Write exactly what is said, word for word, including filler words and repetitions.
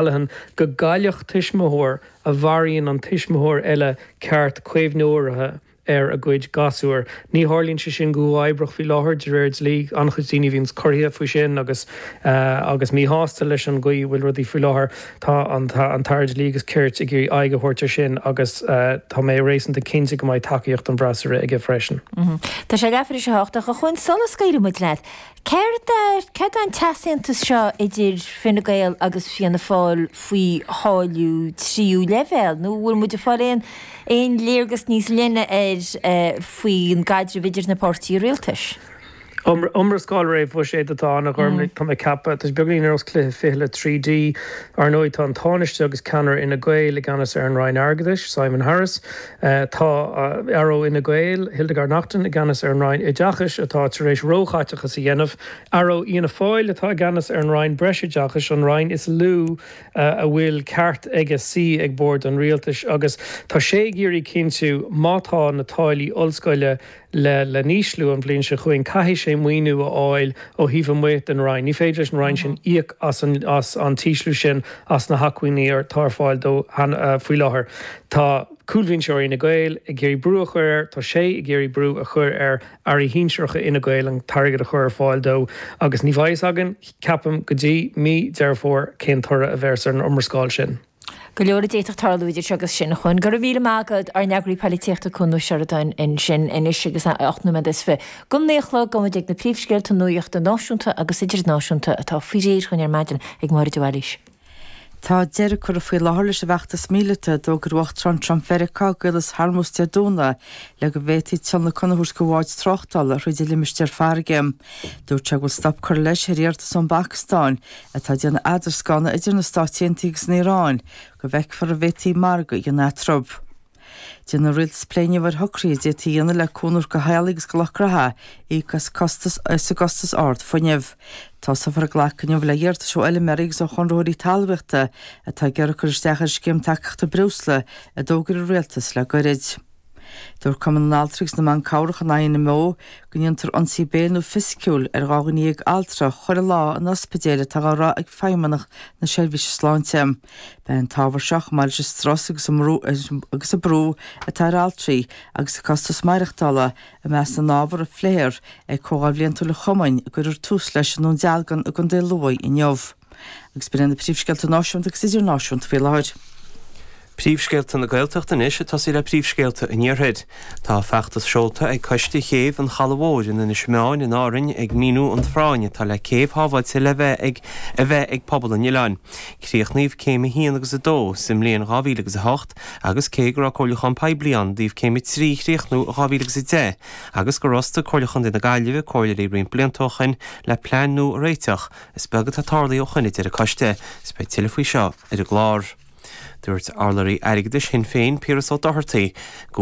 O'Callaghan go gcaillfeadh tuismitheoir a mharaíonn an tuismitheoir eile ceart caomhnóireachta ar a gcuid gasúr. Ní tharlaíonn sé sin go huathoibríoch faoi láthair de réir dlí. An-chuid daoine a bhíonns corraithe faoi sin agus agus míshásta leis an gcaoi a bhfuil rudaí faoi láthair. Tá an an tAire Dlí agus Cirt ag iarraidh aghaidh a thabhairt ar sin agus tá mé réasúnta cinnte go mbeidh tacaíocht an bhfreasúra aige freisin. Tá sé leathuair tar éis a hocht ach a Chuain sula scaoilfidh muid leat, céard céard é an t-easaontas seo idir Fine Gael agus Fianna Fáil faoi tháillí tríú leibhéal nó bhfuil muid ag fáil aon aon léargas níos leithne air faoin gcaidreamh idir na páirtithe rialtais? Iomrascáil réamh-bhuiséid atá ann, a Ghormlaith, tá mé ag ceapadh. Tá sé beagáinín ar nós cluiche fichille trí D. Ar ndóigh, tá an Tánaiste agus ceannaire Fhine Gael i gceannas ar an Roinn Airgeadais, Simon Harris. Tá Aire Fhine Gael, Hildegarde Naughton, i gceannas ar an Roinn Oideachais, atá tar éis róchaiteachas a dhéanamh. Aire Fhianna Fáil atá i gceannas ar an Roinn Breisoideachais, an roinn is lú a bhfuil ceart aige suí ag bord an rialtais, agus tá sé ag iarraidh cinntiú má tá na táillí ollscoile le le n-ísliú an bhliain seo chugainn, caithfidh sé maoiniú a fháil ó thaobh amuigh den Roinn. Ní féidir leis an Roinn sin íoc as an as an t-ísliú sin as na hacmhainní atá ar fáil dó faoi láthair. Tá cúlbhinseoirí Fhine Gael ag iarraidh brú a chur air, tá sé ag iarraidh brú a chur ar airí shinsearacha Fhine Gael an t-airgead a chur ar fáil dó agus ní bheidh a fhios againn, ceapaim, go dtí mí Deireadh Fómhair cén toradh a bheas ar an iomrascáil sin. Go leor a d'fhéadfadh tarlú idir seo agus sin. A Chuain, go raibh míle maith agat, ár n-eagraí poilitíochta Cuan Ó Seireadáin ansin anois agus é ocht nóiméad is fiche go naoi a chlog, gabhfaidh muid ag na príomhscéalta nuachta náisiúnta agus idirnáisiúnta atá faoi réir chugainn ar maidin ag Máire de Bhailís. Tá deireadh curtha faoi láthair leis an bhfeachtas míleata a d'fhógair Uachtarán Trump Mheiriceá i gCaolas Hormuz Dé Domhnaigh le go bhféadfaí tionlacan a thabhairt do bháid tráchtála thríd an limistéar farraige. Dúirt sé go bhfuil stop curtha leis ar iarratas ón bPacastáin, atá ag déanamh eadarscána idir na Stáit Aontaithe agus an Iaráin, go bhfeicfear an bhféadfaí margadh a dhéanamh eatarthu. Déanfaidh an rialtas plé inniu ar shocruithe a d'fhéadfaí a dhéanamh le cúnamh a thabhairt do theaghlaigh agus do lucht gnótha íoc as costas as an gcostas ard fuinnimh. Tosófar ag glacadh inniu le hiarratais ó fheilméaraí agus ó chonraitheoirí talmhaíochta atá ag iarraidh cur isteach ar an scéim tacaíochta breosla a d'fhógair an rialtas le goirid. Dúirt Cumann na nAltraí agus na mBan Cabhrach an INMO go ndéantar ionsaí béil nó fisiciúil ar dhá dhuine dhéag altra chuile lá in ospidéil atá á rá ag Feidhmeannacht na Seirbhíse Sláinte. Beidh an t-ábhar seo, chomh maith leis an strus agus an agus an brú atá ar altraí agus an costas maireachtála, i measc na n-ábhar a phléifear ag Comhdháil Bhliantúil an Chumainn a gcuirfear tús leis i nDún Dealgan i gContae Lú inniu. Agus b'in iad na príomhscéalta náisiúnta agus idirnáisiúnta faoi láthair. Príomhscéalta na Gaeltachta anois ag tosaí le príomhscéalta an Iarthair. Tá feachtas seolta ag Coiste Chéibh an Chalaidh Mhóir in Inis Meáin in Árainn ag míniú an phráinn atá le céibh shábháilte le bheith ag a bheith ag pobal an oileáin. Críochnaíodh Céim a haon agus a dó sa mbliain dhá mhíle agus a hocht agus cé go raibh comhairliúchán poiblí ann i dtaobh Céim a trí a chríochnú i dhá mhíle agus a deich agus gur fhostaigh Comhairle Chontae na Gaillimhe comhairleoirí roinnt blianta ó shoin le plean nua a réiteach, is beag atá tarlaithe ó shoin a deir an coiste. Is beidh tuilleadh faoi seo ar an gclár. Dúirt urlabhraí airgeadais Shinn Féin, Piaras Ó Dochartaigh, go